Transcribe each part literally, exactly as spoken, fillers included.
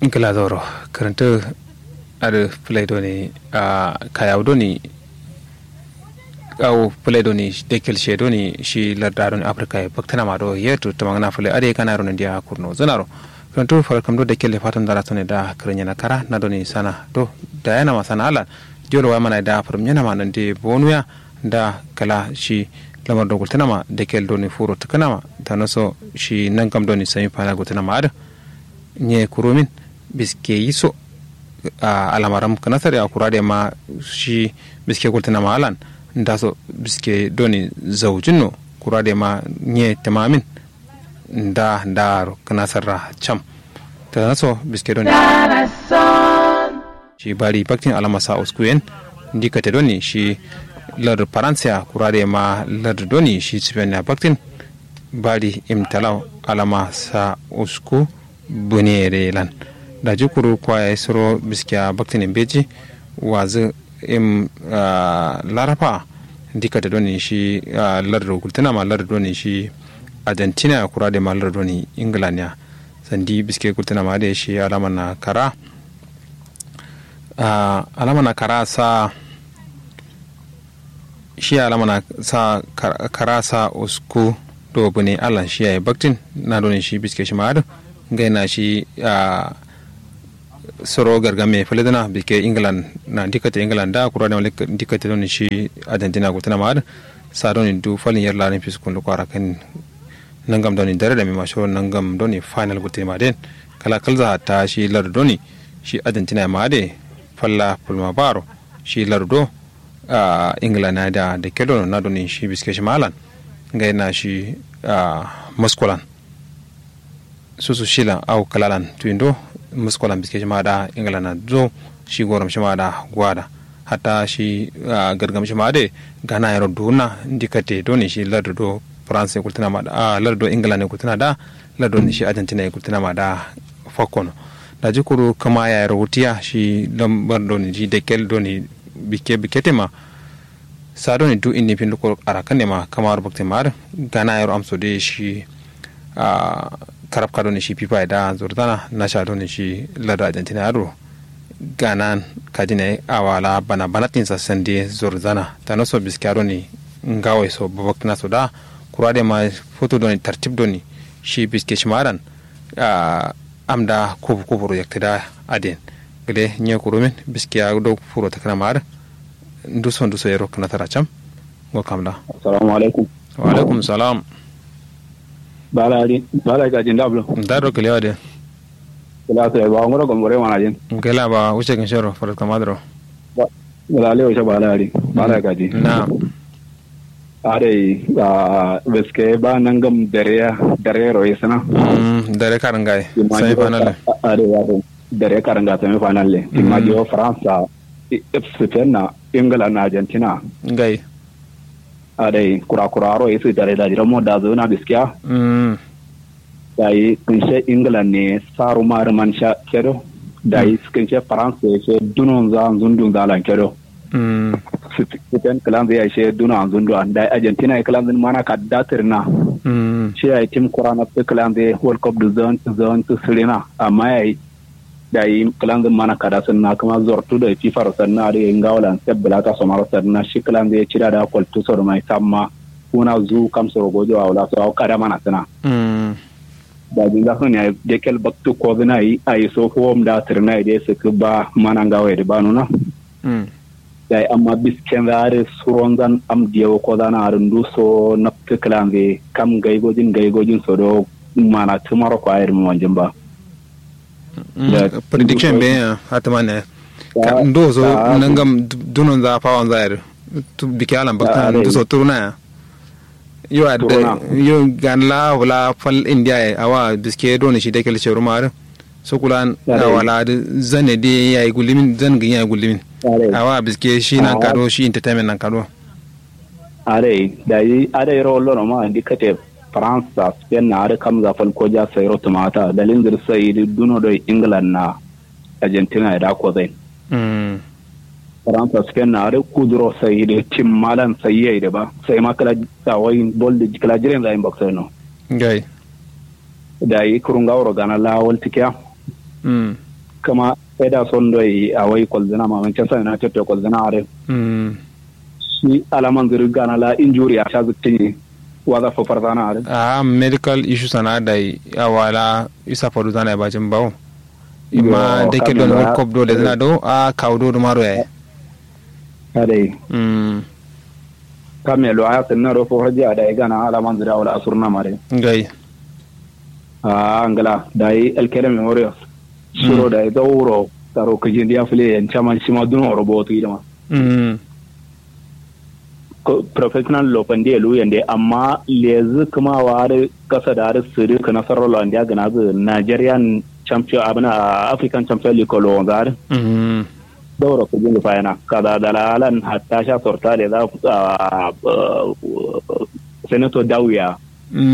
Ngla zauro. Kǝrǝntǝ adǝ fǝlai doni, a kayawu doni, awo fǝlai doni dekkel she doni shi larda doni afrika ye baktǝna ma do yetu tǝmangǝna fǝlai adǝ ye kanaro nandiya kurno zǝnaro. Kǝrǝntǝ farakam do dekkel ye fatam dara sone da kǝrǝnyena kara na doni sana do, dayanama sana alan. Diwol wayamana ye da fǝrǝmnyenama nandi bonuya. Da kǝla shi lamar do gultǝnama dekkel doni furo tǝkǝnama tanoso shi nangam doni sami fana gultǝnama adǝ. Nye kurumin biske yiso. Alamaram kǝnasar ya kura de ma shi biske gultǝnama alan. Ndaso biske doni zaujinno kura de ma nye tǝmamin. Nda ndaro kǝnasar ra cam. Tanaso biske doni shi bari baktin alama sa uskuyen. Ndi kate doni shi lardu faransiya kura de ma lardu doni shi sifeniya baktin. Bari imtalaw alama sa usku bunere lan. Daji kuru kwaye suro biskiya baktinin beji. Wazǝ im laraba. Ndi kate doni shi lardu gultǝnama lardu doni shi argentina ya kura de ma lardu doni england ya. Sandi biske gultǝnama de shi alama na kara. Alama na kara sa shi alama na sa kara sa usku do bune allan shi yayi baktin. Na doni shi biske shi ma adǝ ngai na shi soro gargame fǝlǝdǝna bikke england na ndikkate england da kura dema ndikkate doni shi argentina gultǝna ma adǝ. Sa doni du falin yer larin fiskun luko arakan. Nangam doni dare dami ma shiro nangam doni final gultǝ ma den. Kala kalza hatta shi lardu doni shi argentina ma adǝ. Falla fulma baro shi lardu do england na da da kedo na doni shi biske shi ma alan. Ngai na shi muskolan susu shilan au kǝlalan tuwindo. Muskolan biske shima da england na do shi gorom shima da gwada. Hatta shi gargam shima de gana yero duna ndikate doni shi lardu do france gultuna ma da lardu do england gultuna da lardu doni shi argentina gultuna ma da. Fakkono daji kuru kǝma yayero wutiya shi lambar doni shi dekel doni bikke bikke tema. Sa doni du indi findu koro arakan ne ma kamaro bakte ma adǝ. Gana yero amso de shi karabka doni shi fifa ye da zorzana nasha doni shi lardu argentina adǝ ro. Ganan kajine awala bana banatin sa sande zorzana tanoso biskiya doni ngawai so babaktǝna so da. Kura de ma foto doni tartib doni shi biske shi ma adan. Amda kubu kubu ro yaktǝ da aden. Gǝde nye kurumin biskiya do furo tǝkǝna ma adǝ. Nduso nduso yero kǝnatara cam. Ngo kamla. Assalamu alaikum. Wa alaikum salam. Bala adi bala gaji ndablo. Ndado kǝlewa de. Kǝla sai ba ngoro gombore mana jin. Ngela ba wuce kin shero farat kamadro. Kǝla lewo sha bala adi bala gaji. Na. Adai. Biske ba nangam dare dare ro isana. Dare karin gai. Sai fanale. Adai ya dare karin ga semi final le timma jiwo france. Spain na england na argentina. Ngai. Adai kura kura aro isi dare da jira mo da zuna biskiya. Dayi kunshe england ne saru mari man sha kedo. Dayi kunshe france she dunon za zundun za lan kedo. Spain klanzi ya she duna zundu an dayi argentina klanzi mana kadda tirna. Shi yayi tim kura na klanzi world cup du zon zon sirina amma yayi. Dayi klanzi mana kada sanna kuma zortu da fifa ro sanna da ngawo lan sebbula ta somaro sanna shi klanzi cida da kwaltu so mai samma. Kuna zu kam soro gojo awla so kada mana sana. Daji nga son yayi dekel baktu kozina yi ayi so fowom da tirna yi de siki ba mana ngawo yi ba nuna. Dayi amma bisken za adǝ suronzan am diyawo kozana adǝ nduso naptǝ kǝlanzǝ ye kam ngai gojin ngai gojin so do. Mana tǝmaro ko ayir monjin ba. Prediction be ya hatǝma ne. Nduso nangam dunonza fawonza yadǝ. Bike alan bakta nduso turuna ya. Yo adda yo gan la wala fal india ye awa biske doni shi dakel shoruma adǝ. Sukulan awala adǝ zane de yayi gullumin zan gin yayi gullumin. Awa biske shi nan kado shi entertainment nan kado. Adai dayi adai ro wallo no ma andi kate france a spain na adǝ kamza fal ko ja sai ro tumata dalin zir sai dǝ duno doi england na argentina ye da kozai. France spain na adǝ kuduro sai dǝ timmalan sai yai dǝ ba sai ma kǝla sawai bol dǝ kǝla jiren zayin baksai no. Ngai. Dayi kuru ngawuro gana la waltǝkiya. Kǝma eda son doi awai kolzǝna ma manchester united to kolzǝna adǝ. Shi alamanzǝ dǝ gana la injuri a sha zǝkcǝnyi. Waza fafar zana adǝ. Ahh medical issue sana dai. Awala isa fadu zana ya bajin bawo. Imma dake don world cup do lezǝna do a kawu do duma ro yayi. Adai. Kam yalwa ya sǝnna do fo hajji adai gana alamanzǝ dǝ awala asurna ma dai. Ngai. Ahh ngla dai elkere memorial. Shiro dai zauro taro kǝjin diya fǝle yen caman shima duno ro botu idima. Professional lo fande luyen de amma lezǝ kǝma wa adǝ kasa da adǝ sǝdǝ kǝna sarro lo andiya gǝnazǝ nigerian champion abǝna african champion league lo wonza adǝ. Dauro kǝjin fayana kaza dalalan hatta sha sorta leza. Senator dawiya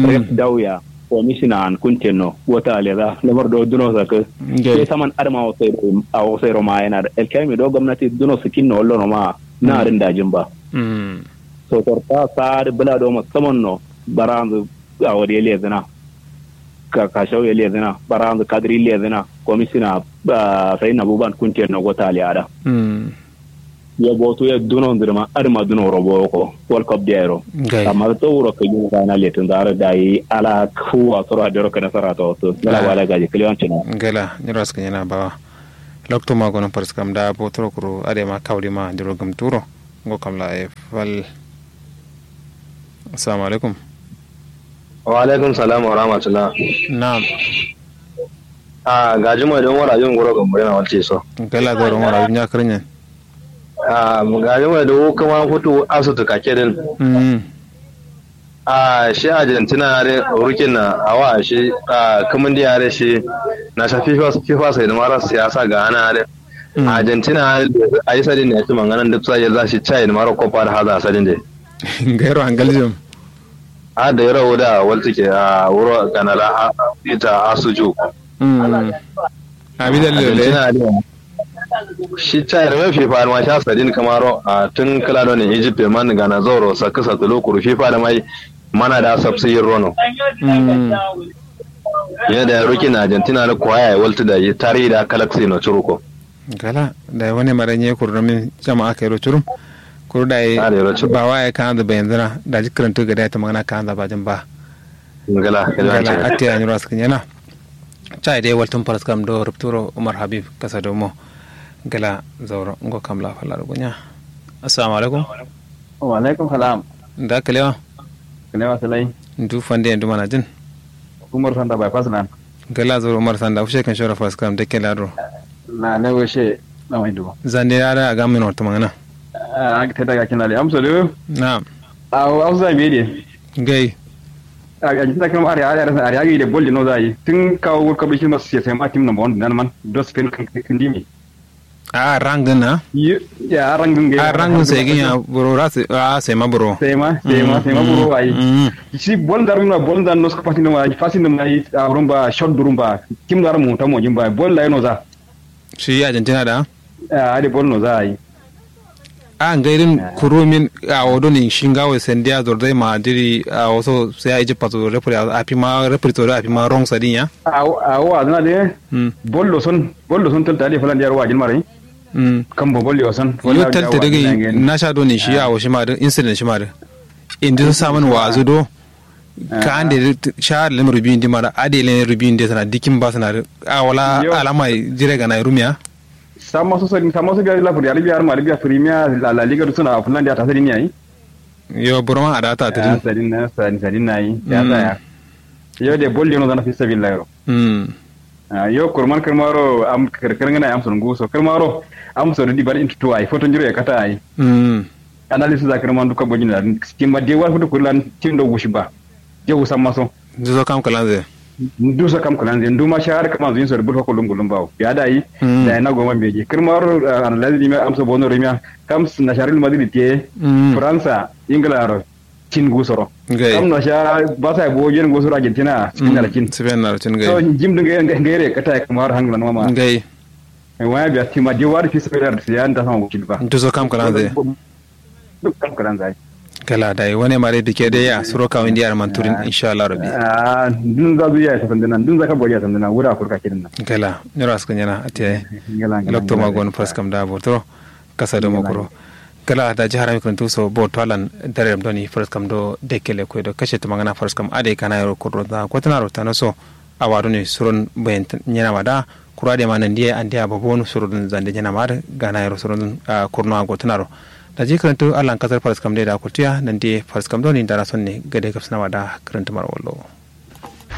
rep dawya. Komisina an kuntenno wota leza lamar do duno sakǝ. Sai saman adǝma a wasairo ma yana da elkemi do gomnati duno sikinno wallono ma na adǝn dajin ba. Sosorta sa'ad bǝla do musamman no baranzǝ awo de lezǝna. Kakashau ye lezǝna baranzǝ kadǝri lezǝna. Komisina sai nabuban kuntenno wota liyada. Yo botu ye duno ndǝrma adǝma duno ro boko world cup de ayiro. Amma dǝ tsauro kǝjin zana letin zaro dayi ala kuwa soro adero kǝna sara ta wasu ngala wala gaji kǝlewan cina. Ngala nyiro askǝ nyina bawa. Loktu ma gonon fariskam da botoro kuro adai ma kawri ma andiro gǝmturo. Ngo kam la ye fal. Assalamu alaikum. Wa alaikum salam wa rahmatullah. Na'am. Ahh gaji mai don wara jin guro gambare na walce so. Ngala zauro mara jin ya kǝrinyin. Ahh gaji mai don kuma futu asu tuka kedin. Ahh shi argentina are rukin na awa shi. Ahh kǝmin di are shi na sha fifa sai da mara siyasa ga ana are. Argentina are a yi sadin ne ya ci manganan duk sai ya za shi chai da mara kofa da haza sadin de. Gairo hangaljim. Adda yero wuda waltǝke a wuro ganala ita asuju. Abidal lele. Shi chai rame fifa ma sha sadin kamaro a tun kala don egypt man gana zoro sakka satulu kuru fifa da mai mana da sabsi yin rono. Yadda ya rukin argentina da kwaya ya waltu da yi tarihi da kalaksi no curuko. Gala dayi wane mara nye kuru domin jama'a kairo curum. Kuru dayi bawa yayi kanza bayanzǝna daji kǝrantǝ gade yayi tǝmagǝna kanza bajin ba. Gala atti yayi nyiro askǝ nyena. Cayi dai waltǝm faraskam do rubturo umar habib kasa domo. Gala zauro ngo kam la falla do gunya. Assalamu alaikum. Wa alaikum salam. Nda kǝlewa? Kǝlewa sǝlai. Ndu fande ndu manajin? Umar sanda bypass lan. Gala zoro umar sanda ushe kan shora faraskam dakke lado. Na ne ushe na mai dubo. Zande ya da aga min wata magana. Aga ta daga kina le amsa do. Na'am. Awo amsa me de. Gai. Aga ta kan are are are are agi de bol de no zai tun kawo world cup shi masu sai ma team number one nan man dos pen kan kan dimi. A rangǝn na? Ya rangǝn gai a rangǝn sai gin ya buro ra sai a sai ma buro. Sai ma sai ma sai ma buro ai. Shi bol ndar na bol ndar nos ka fasin ma fasin ma ai a rumba shot durumba. Kim ndar mu ta mo jin ba bol lai no za. Shi argentina da? A ade bol no za ai. A ngai din kurumin a wodo ni shingawo sandiya zordai ma diri a waso sai a egypt paso refri a fi ma refri to a fi ma wrong sadin ya. A wo a zana de. Bol lo son bol lo son talta de falan diya ro wajin mare. Kambo bol yo san yo talta daga nasha do ne shi yawo shi ma duk incident shi ma duk indi so samun wazu do. Ka ande shahar lim rubi indi mara ade len rubi indi sana dikin ba sana duk a wala alama jire ga na rumiya. Sama so sadin sama so biya la furiya biya ma biya premier la la liga duk suna fulan da ta sadin yayi. Yo burma a da ta sadin sadin na yi ya tsaya. Yo de bol de no zana fi sabilillah ro. Yo kurman kǝrmaro am kǝrkǝr ngǝna ye amso nguso kǝrmaro. Amso dǝ dibar intu tuwa ye foto njiro ye kata ye. Analysis a kǝrma ndu kabo jin da tim ma de war futu kurlan tim do wushi ba. Jawu samma so. Nduso kam kǝlanze. Nduso kam kǝlanze nduma shahar kǝma zuyin so dǝ bul fako lum gulum bawo biya da ye. Da ye na goma mbeji kǝrmaro analysis dimiya amso bono rumiya kam na shaharul madrid ye. Fransa ingila ro. Cin gusoro. Kam no sha basa bo jen gusoro argentina. Spain na cin gai so jim din gai gai re kata ya kamar hangla no ma gai. Waya biya tima je wari fi spain ya nda sama wakil ba nduso kam kalanze. Duk kam kalanze. Gala dai wane mare bike dai ya suro kawin diya man turin insha Allah rabbi. Ah, dun za zuya ya sandana, dun za ka boriya sandana wura kurka kirin nan. Gala nyura suka nyana ate. Gala lokto ma gon first kam da botoro kasa do mokoro. Gala da jihar mi kuntu so bo tolan dare doni first kam do dekele ko do kashe tumangana first kam ade kana yaro kuro da kotana ro tano so. Awa doni suron bayan nyana ma da kura de ma nan diye an diya babon suron zande nyana ma da gana yaro suron kurno a gotunaro. Da ji karantu allan kasar faras kam de da kultiya nan diye faras kam doni da rason ne gade gabsana ma da karantu mara wallo.